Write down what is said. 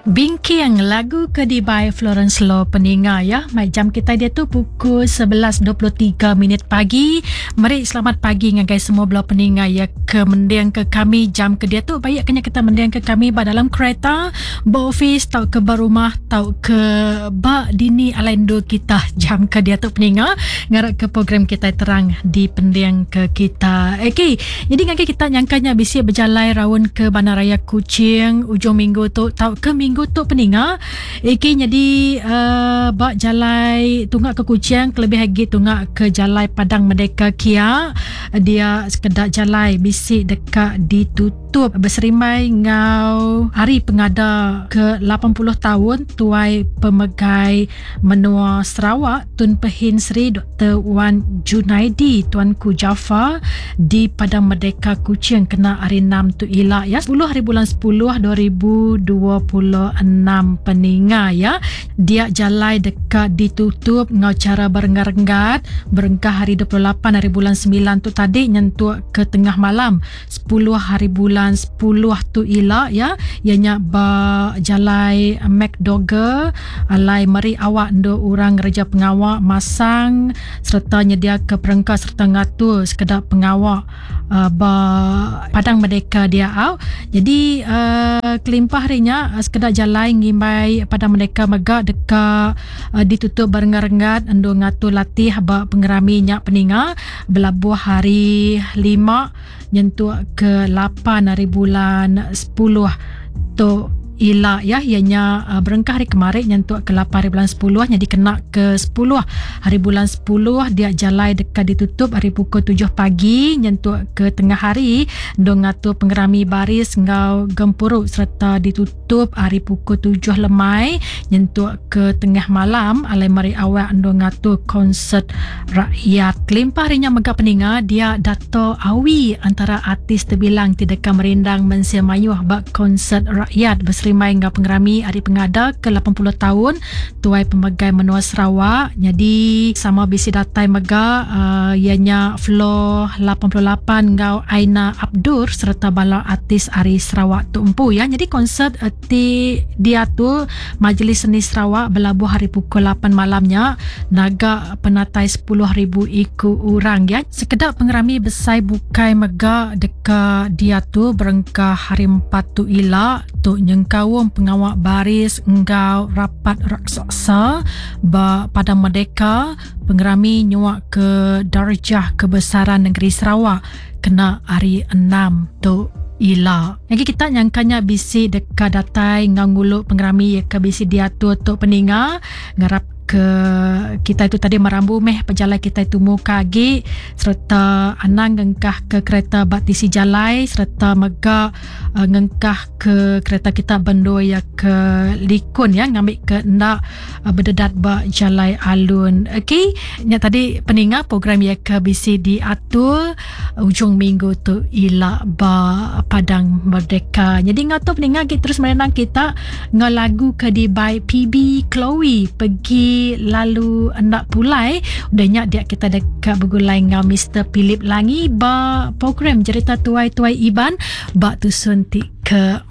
Bingking lagu ke dibai Florence Lo peninga ya. Mai jam kitai diatu pukul 11.23 minit pagi. Meri selamat pagi ngagai semua bela peninga ya ke mending ke kami jam ke diatu. Baik kenya kita mending ke kami ba dalam kereta, ba office tau ke ba rumah tau ke ba dini alai endur kita jam ke diatu peninga. Ngarap ke program kitai terang dipending ke kita. Okey, jadi ngagai kita nyangka nya bisi bejalai raun ke Bandaraya Kuching ujung minggu tu tauka minggu tu peninga. Okey, jadi uh, ba jalai tunga ke Kuching kelebih agi tunga ke jalai Padang Merdeka kia dia sekeda jalai bisi deka ditutup beserimbai enggau hari pengada ke 80 taun tuai pemegai Menua Sarawak Tun Pehin Sri Doktor Wan Junaidi Tuanku Jaafar di Padang Merdeka Kuching kena hari enam tu ila ya 10 hari bulan 10 2026 peninga ya dia jalai deka ditutup enggau chara berenggat-renggat berengkah hari 28 hari bulan 9 tu tadi nyentuk ke tengah malam 10 hari bulan 10 tu ila ya iya nya ba jalai McDougall alai meri awak endur orang ngereja pengawa masang sereta nyediaka perengka sereta ngatur sekeda pengawa uh, ba Padang Merdeka dia au. Jadi uh, kelimpah ari nya sekeda jalai ngimbai Padang Merdeka mega deka uh, ditutup berenggat-renggat endur ngatur latih ba pengerami nya peninga. Belabuh hari lima nyentuk ke 8 hari bulan 10 tu ila ya iya nya uh, berengkah hari kemari nyentuk ke 8 hari bulan 10 nyadi kena ke 10 hari bulan 10 dia jalai deka ditutup hari pukul 7 pagi nyentuk ke tengah hari endur ngatur pengerami baris enggau gempuru sereta ditutup hari pukul 7 lemai nyentuk ke tengah malam alai meri awak endur ngatur konsert rakyat. Kelimpah ari nya mega peninga dia Dato Awi antara artis tebilang ti deka merindang mensia mayuh ba konsert rakyat beserimbai enggau pengerami Hari Pengada ke 80 taun Tuai Pemegai Menua Sarawak. Nyadi sama bisi datai mega uh, iya nya Flo 88 enggau Aina Abdur sereta bala artis ari Sarawak tu empu ya. Nyadi konsert uh, ti diatur Majlis Seni Sarawak belabuh hari pukul 8 malam nya naga penatai 10,000 iku orang ya. Sekeda pengerami besai bukai mega deka diatur berengkah hari empat tu ila tu nyengkaum pengawa baris enggau rapat raksasa ba Padang Merdeka, pengerami nyuak ke Darjah Kebesaran Negeri Sarawak kena hari enam tu ila. Agi kita nyangka nya bisi deka datai enggau ngulu pengerami iya ke bisi diatur tu peninga ngarap ke kitai tu tadi merambu meh pejalai kitai tumu ke agi sereta anang ngengkah ke kereta ba tisi jalai sereta mega uh, ngengkah ke kereta kita bendur iya ke likun ya ngambi ke enda uh, bededat ba jalai alun. Okey, nya tadi peninga program iya ke bisi diatur ujung minggu tu ila ba Padang Merdeka. Jadi ngau tu peninga agi terus merenang kita ngau lagu ke dibai PB Chloe pergi lalu enda pulai. Udah nya dia kita deka begulai ngau Mr Philip Langi ba program Jerita Tuai-Tuai Iban ba tusun ti ke.